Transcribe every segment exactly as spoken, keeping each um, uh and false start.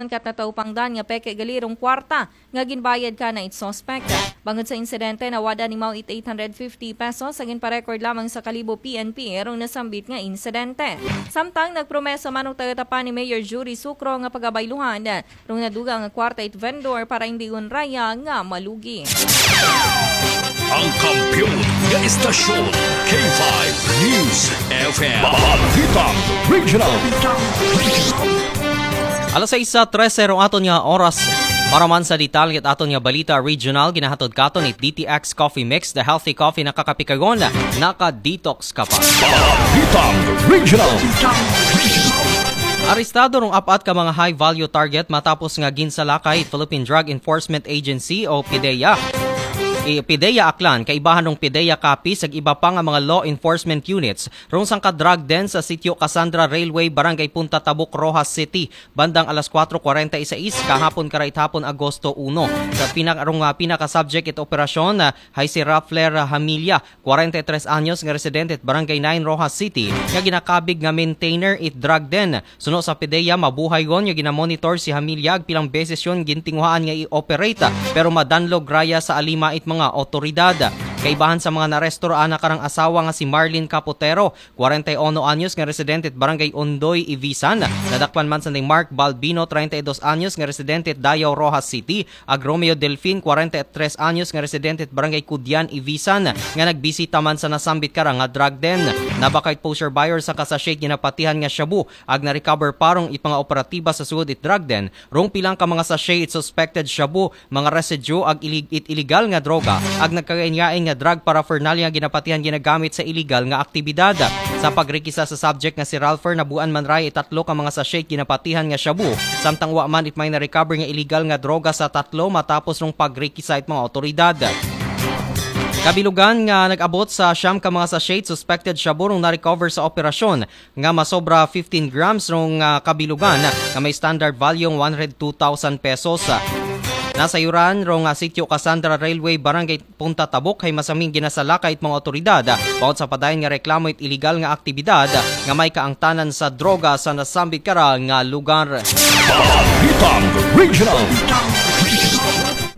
kat nataw-an pa nga peke gali rong kwarta nga ginbayad kana it suspect. Bangod sa insidente, nawad-an imaw it eight hundred fifty pesos, sa ginpa-record lamang sa kalibo P N P rong nasambit nga insidente. Samtang nagpromesa man rong taga-Tapan ni Mayor Judy Sucro nga pagabayluhan rong nadugang nga kwarta it vendor para imbigon raya nga malugi. Ang kampiyon nga istasyon, K five News F M. Balitang Regional. Alas sais sa trese rong aton nga oras. Para man sa detalye it aton nga balita regional, ginahatod katon it D T X Coffee Mix, the healthy coffee na kakapikagon, naka-detox ka pa. Balitang Regional. Arestado rong apat ka mga high-value target matapos nga ginsalakay it Philippine Drug Enforcement Agency o PDEA. I PDEA Aklan, kaibahan rong PDEA Capiz, ag iba pa nga mga law enforcement units rong sangka drug den sa Sitio Cassandra Railway, Barangay Punta Tabuk, Roxas City, bandang alas kuwatro kwarenta y sais kahapon, kara it hapon, Agosto uno. Sa pina-, rong, ah, pinaka-subject it operasyon, ah, hay si Raffler, ah, Hamilla, kwarenta y tres anyos nga residente it Barangay nine, Roxas City, nga ginakabig nga maintainer it drug den. Suno sa PDEA, mabuhay gon nga ginamonitor si Hamilla ag pilang beses yon gintinguhaan nga i-operate, pero madanlog raya sa alima it mga otoridad. Kaibahan sa mga naresto, raan na karang asawa nga si Marlene Capotero, kwarenta y uno anyos nga residente it Barangay Ondoy, Ibisan. Nadakpan man sa ni Mark Balbino, treinta y dos anyos nga residente it Dayao, Roxas City, ag Romeo Delfin, kwarenta y tres anyos nga residente it Barangay Kudian, Ibisan, nga nagbisita man sa nasambit kara nga drug den. Nabaka it poseur buyer sa sangka sachet ginapatihan nga shabu, ag na-recover pa rong it mga operatiba sa sugod it drug den rong pilang ka mga sachet it suspected shabu, mga residue ag ilig-, it illegal nga droga, ag nagkagaingain nga drug paraphernalia nga ginapatihan ginagamit sa illegal nga aktibidad. Sa pagrekisa sa subject nga si Ralpher, nabuan man raya it tatlo ka mga sachet ginapatihan nga shabu, samtang wa man it may na-recover nga illegal nga droga sa tatlo matapos rong pagrekisa it mga otoridad. Kabilugan nga nag-abot sa siyam ka mga sachet suspected shabu rong na-recover sa operasyon, nga masobra fifteen grams rong, ah, kabilugan nga may standard value one hundred two thousand pesos. Nasayuran rong, ah, Sitio Cassandra Railway, Barangay Punta Tabuk, hay masaming ginasalakay it mga otoridad, ah, bangod sa padayon nga reklamo it illegal nga aktibidad, ah, nga may kaangtanan sa droga sa nasambit kara nga lugar. Balitang Regional.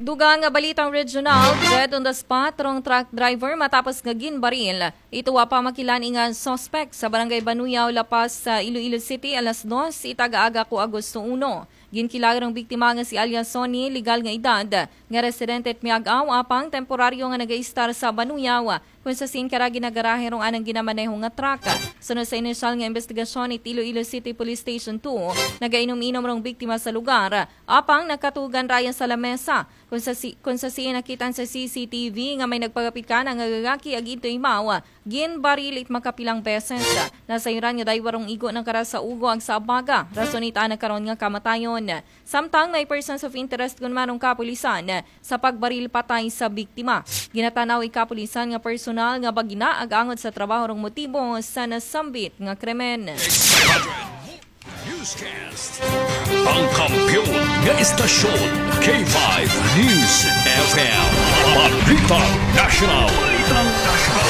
Dugang nga balitang regional, dead on the spot rong truck driver matapos nga ginbaril ito wa pa makilan-i nga suspect sa Barangay Banuyaw, La Paz, sa Iloilo City, alas dos it aga-aga ko Agosto uno. Ginkilag rong biktima nga si alias Sonny, legal nga edad, nga residente it Miag-ao, apang temporaryo nga nagaistar sa Banuyaw, kung sa sin kara ginagarahe rong anang ginamaneho nga truck. Sunod sa inisyal nga investigasyon it Iloilo City Police Station two, nagainom-inom rong biktima sa lugar, apang nakatugan raya sa lamesa. Kung sa si-, kung sa sin nakit-an sa C C T V nga may nagpagapit kana nga lalaki ag ito imaw, ginbaril it makapilang beses. Nasayran nga daywa rong igo na kara sa ulo ag sa abaga. Rason ita na karon nga kamatayon. Samtang may persons of interest gun man rong kapulisan sa pagbaril patay sa biktima. Ginatanaw it kapulisan nga personal nga bagina ag angot sa trabaho rong motibo sa nasambit nga krimen. Newscast. Ang kampiyon nga istasyon, K five News F M. Balitang National. Balitang National.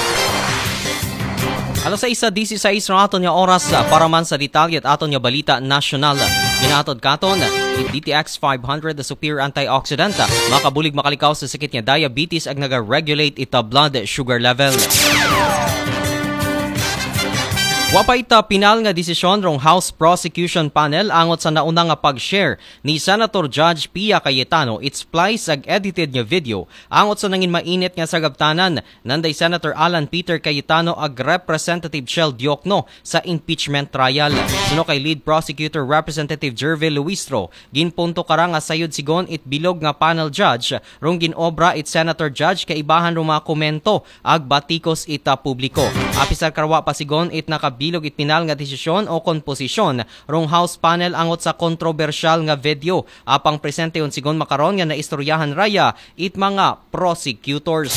Alas sais disisais rong aton nga oras, ah, para man sa detalye it aton nga balita nasyonal. Ginahatod katon it D T X five hundred, the superior antioxidant, ah, makabulig makalikaw sa sakit nga diabetes ag naga-regulate it, ah, blood sugar level. Wa pa it, ah, pinal nga desisyon rong House Prosecution Panel angot sa nauna nga pag-share ni Senator Judge Pia Cayetano it splice ag edited nga video angot sa nangin mainit nga sagabtanan nanday Senator Alan Peter Cayetano ag Representative Chel Diokno sa impeachment trial. Suno kay Lead Prosecutor Representative Gervil Luistro, ginpunto kara nga sayod sigon it bilog nga panel judge rong gin-obra it Senator Judge kaibahan rong mga komento ag batikos it, ah, publiko. Apisar kara wa pa sigon it nakabilog it pinal nga desisyon o komposisyon rong House panel angot sa kontrobersyal nga video, apang presente yon sigon makaron nga naistoryahan raya it mga prosecutors.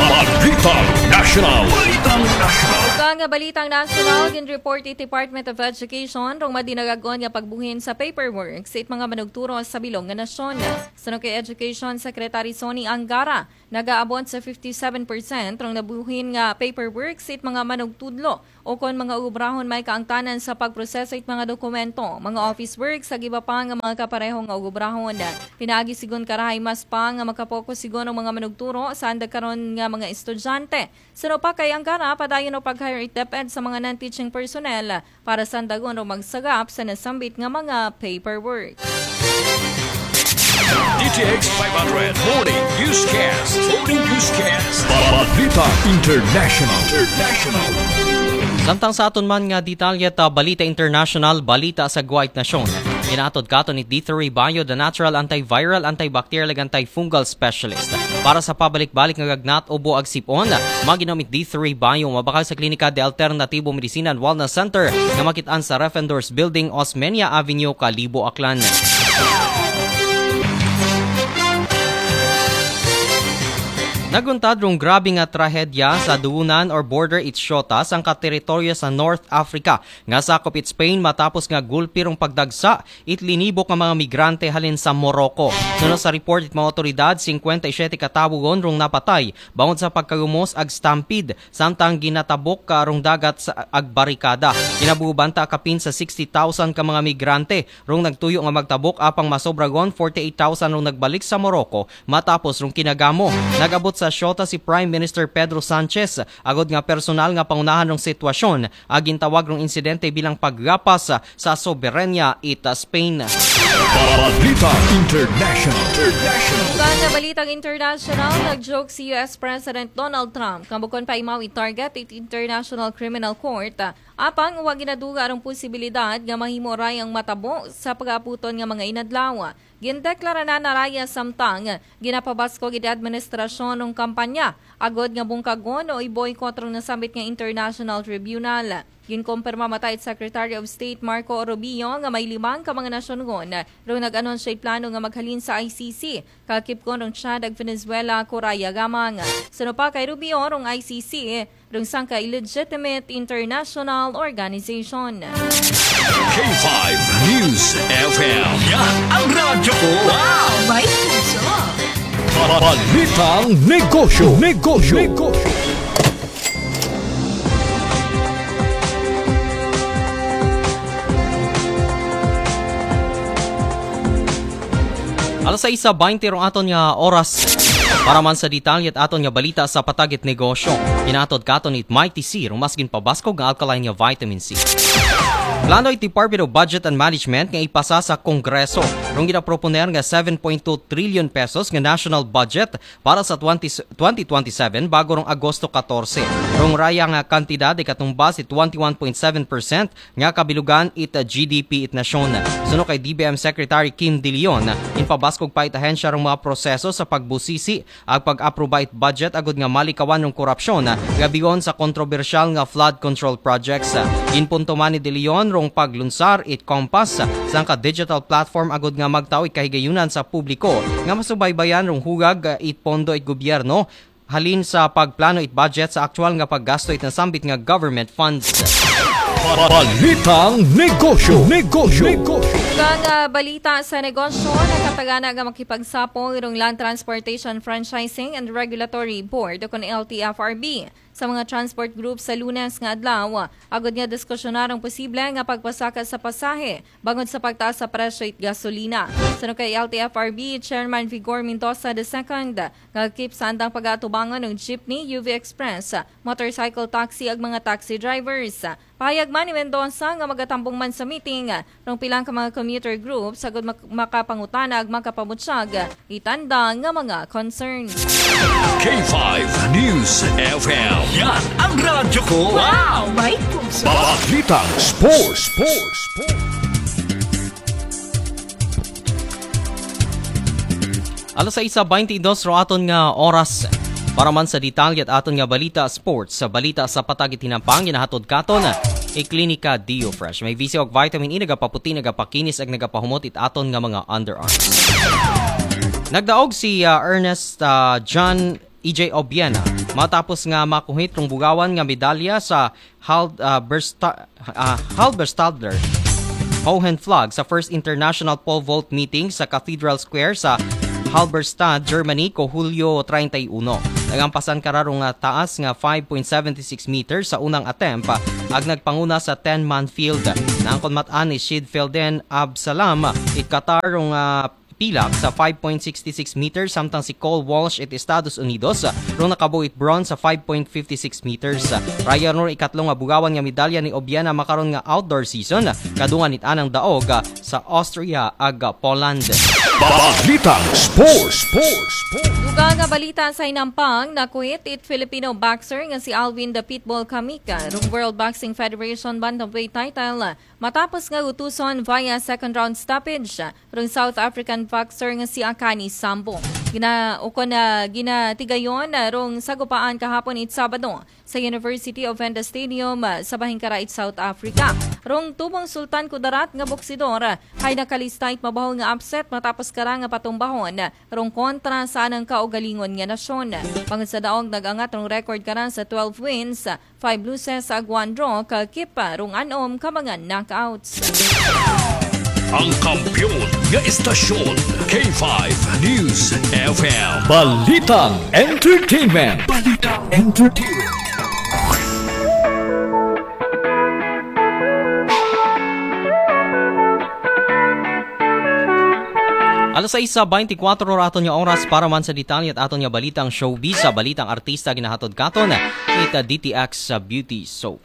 Balitang National. Balitang National. Ug ang balitang nasyonal, gin-report it Department of Education rong madinagagon nga pagbuhin sa paperwork sa it mga manugturo sa bilog nga nasyon. Suno kay Education Secretary Sonny Angara, nagaabot sa fifty-seven percent rong nabuhin nga paperwork sa it mga manugtudlo o kon mga ubrahon may kaangtanan sa pagproseso it mga dokumento, mga office work sa giba pa nga mga kapareho nga ubrahon. Pinaagi sigon karahay mas pa nga makapokus sigon ang mga manugturo sa anda karon nga mga estudyante. Suno pa kay Angara, padayon o pag-hire it DepEd sa mga non-teaching personnel para sandagon o magsagap sa nasambit nga mga paperwork. DTX five hundred Morning Newscast. Morning Newscast. Balita International. International. Samtang sa aton man nga detalye ta Balita International, balita sa Guwait Nasyon. Inaatod katon ni D three Bio, the natural antiviral, antibacterial, ug antifungal specialist. Para sa pabalik-balik nga gagnat o buag sipon, maginom it D three Bio, mabakal sa klinika de Alternativo Medicina and Wellness Center nga makitaan sa Refendors Building, Osmeña Avenue, Kalibo, Aklan. Naguntad rong grabe nga trahedya sa duunan or border it Shota, sangka teritoryo sa North Africa nga sakop it Spain, matapos nga gulpi rong pagdagsa it linibok nga mga migrante halin sa Morocco. Suno sa report it mga otoridad, singkwenta y siyete ka tawo gon rong napatay bangod sa pagkagumos ag stampede, samtang ginatabok ka rong dagat sa ag barikada. Kinabuban ta kapin sa sixty thousand ka mga migrante rong nagtuyo nga magtabok, apang masobra gon forty-eight thousand rong nagbalik sa Morocco matapos rong kinagamo. Nag-abot sa Shota si Prime Minister Pedro Sanchez agod nga personal nga pangunahan rong sitwasyon. Agintawag rong insidente bilang paggapas sa soberanya it Spain. Balita International. International. Sa nga balitang international, nag-joke si U S President Donald Trump nga bukon pa imaw i-target it International Criminal Court, apang wa ginaduga ang posibilidad nga mahimo ray ang matabo sa pag-aputon nga mga inadlaw. Gindeklara na naraya samtang ginapabaskog it administrasyon ng kampanya agod nga bungkagon o i-boycott rong nasambit nga international tribunal. Ginkumpirma mata it Secretary of State Marco Rubio nga may limang ka mga nasyon gon rong nag-anunsyo it plano nga maghalin sa I C C, kakipkon rong Chad ag Venezuela, Korea gamang. Suno pa kay Rubio, rong I C C rong sangka illegitimate international organization. K five News F M. Yan ang radyo ko. Wow! May puso. Balitang negosyo. Negosyo. Negosyo. Alas sais baynte rong aton nga oras. Para man sa detalye it aton nga balita sa patag it negosyo, inaatod katon it Mighty C, rong mas ginpabaskog nga alkaline nga vitamin C. Plano it Department of Budget and Management nga ipasa sa Kongreso rong ginaproponer nga seven point two trillion pesos nga national budget para sa twenty, twenty twenty-seven bago rong Agosto katorse. Rong raya nga kantidad ikatumbas it twenty-one point seven percent nga kabilugan it G D P it nasyon. Suno kay D B M Secretary Kim De Leon, inpabaskog pa it ahensya rong mga proseso sa pagbusisi ag pag-aproba it budget agud nga malikawan rong korupsyon, gabion sa kontrobersyal nga flood control projects. Ginpunto man ni De Leon rong paglunsar it Compass, sangka digital platform agud nga magtao it kahigayunan sa publiko nga masubaybayan rong hugag it pondo it gobyerno halin sa pagplano it budget sa aktual nga paggasto it nasambit nga government funds. Balitang negosyo. Negosyo. Negosyo. Ang ah, balita sa negosyo, nakatagana nga makipagsapo irong Land Transportation Franchising and Regulatory Board o kon L T F R B sa mga transport group sa Lunes nga adlaw, agud nga diskusyonar ang posible nga pagpasaka sa pasahe bangod sa pagtaas sa presyo it gasolina. Suno kay L T F R B Chairman Vigor Mendoza the second, nga keep sa andang pag-atubangan ng jeepney, U V Express, motorcycle taxi ag mga taxi drivers. Pahayag man ni Mendoza nga magatambong man sa meeting rong pilang ka mga commuter groups agud mak- makapangutana ag makapamutsag itanda nga mga concerns. K five News F M. Yan ang radyo ko. Wow! May puso. Balitang sports. Sports. Sports. Alas sais baynte dos ro aton nga oras. Para man sa detalye it aton nga balita sports, sa balita sa patag it hinampang, ginahatod katon i Klinika Dio Fresh. May visyo ag vitamin E, nagapaputi, nagapakinis ag nagapahumot it aton nga mga underarms. Nagdaog si ah, Ernest ah, John E J Obiena, matapos nga makuhit rong bugawan nga medalya sa Hal-, ah, Bersta-, ah, Halberstadt Hohenflug sa first international pole vault meeting sa Cathedral Square sa Halberstadt, Germany, ko Hulyo treinta y uno. Nagampasan kara rong, ah, taas nga five point seven six meters sa unang attempt, ah, ag nagpanguna sa ten-man field. Naangkon mat-an ni Shid Felden Absalam it Qatar rong, ah, pilak sa five point six six meters, samtang si Cole Walsh it Estados Unidos, ah, rong nakabuo it bronze sa five point fifty six meters. Raya rong ikatlo nga bugawan nga medalya ni Obiena makaron nga outdoor season, kadungan it anang daog, ah, sa Austria ag, ah, Poland. Balitang Sports. Sports. Sports. Dugang nga balita sa hinampang, nakuhit it Filipino boxer nga si Alvin The Pitbull Kamika rong World Boxing Federation bantamweight title matapos nga utuson via second round stoppage rong South African boxer nga si Akani Sambo. Gina-, ukon na ginatigayon, ah, rong sagupaan kahapon it Sabado sa University of Venda Stadium, ah, sa Bahingkara it South Africa. Rong tubong Sultan Kudarat nga boksidor, ah, hay nakalista it mabaho nga upset matapos kara nga patumbahon, ah, rong kontra sa anang kaugalingon nga nasyon. Bangod sa daog nag-angat rong record kara sa twelve wins, ah, five losses ag one draw, ka kip, ah, rong anom ka mga knockouts. Ang kampiyon nga estasyon, K five News F M. Balitang Entertainment. Balitang Entertainment. Alas sais beintikwatro ra aton nga oras para man sa detalye it aton nga balitang showbiz, sa balitang artista ginahatod katon it D T X sa Beauty Soap.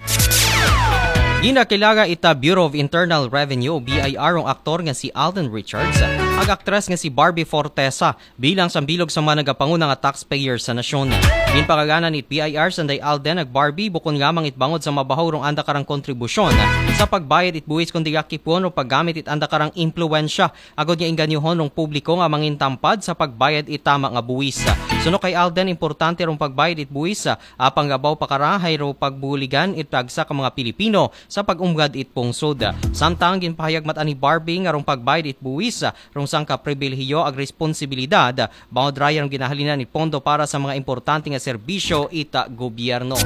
Ginakilaga it Bureau of Internal Revenue o B I R rong aktor nga si Alden Richards ag aktres nga si Barbie Fortesa bilang sambilog sa mga nagapanguna nga taxpayer sa nasyon. Ginpangaganan it B I R sanday Alden ag Barbie bukon nga mangitbangod sa mabaho rong anda karang kontribusyon sa pagbayad it buwis kundi akipon o paggamit it anda karang impluwensya agod nga inganyohon rong publiko nga mangintampad sa pagbayad it tama nga buwis. Suno kay Alden, importante rong pagbayad it buwis, apang labaw pa kara hay ro pagbuligan it tagsa ka mga Pilipino sa pag-umgad it pungsod. Samtang ginpahayag mat-an ni Barbie nga rong pagbayad it buwis rong sangka pribilehiyo ag responsibilidad, bangod raya rong ginahalinan it pondo para sa mga importante nga serbisyo it gobyerno.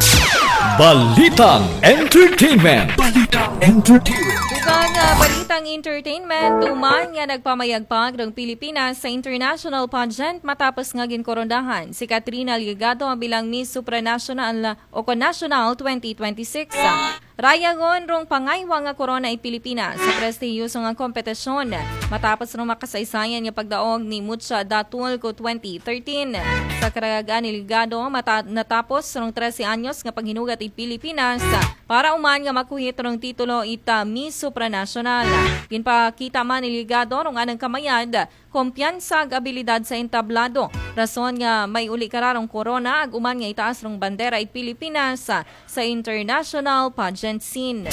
Balitang Entertainment. Balitang Entertainment. Dugang, ah, balitang entertainment, tuman nga nagpamayagpag rong Pilipinas sa international pageant matapos nga ginkoronahan si Katrina Ligado bilang Miss Supranational o kon National twenty twenty-six. Rayagon rong pangaywa nga korona it Pilipinas sa prestihiyoso nga kompetisyon matapos rong makasaysayan nga pagdaog ni Mucha Datul ko twenty thirteen. Sa karag-an ni Ligado, mata-, natapos rong trese anyos nga paghinugat it Pilipinas para uman nga makuhit rong titulo it Miss Supranational. Ginpakita man ni Ligado rong anang kamayad, kumpiyansa ag abilidad sa entablado, rason nga may uli kara rong korona ag uman nga itaas rong bandera it Pilipinas sa international pageant scene.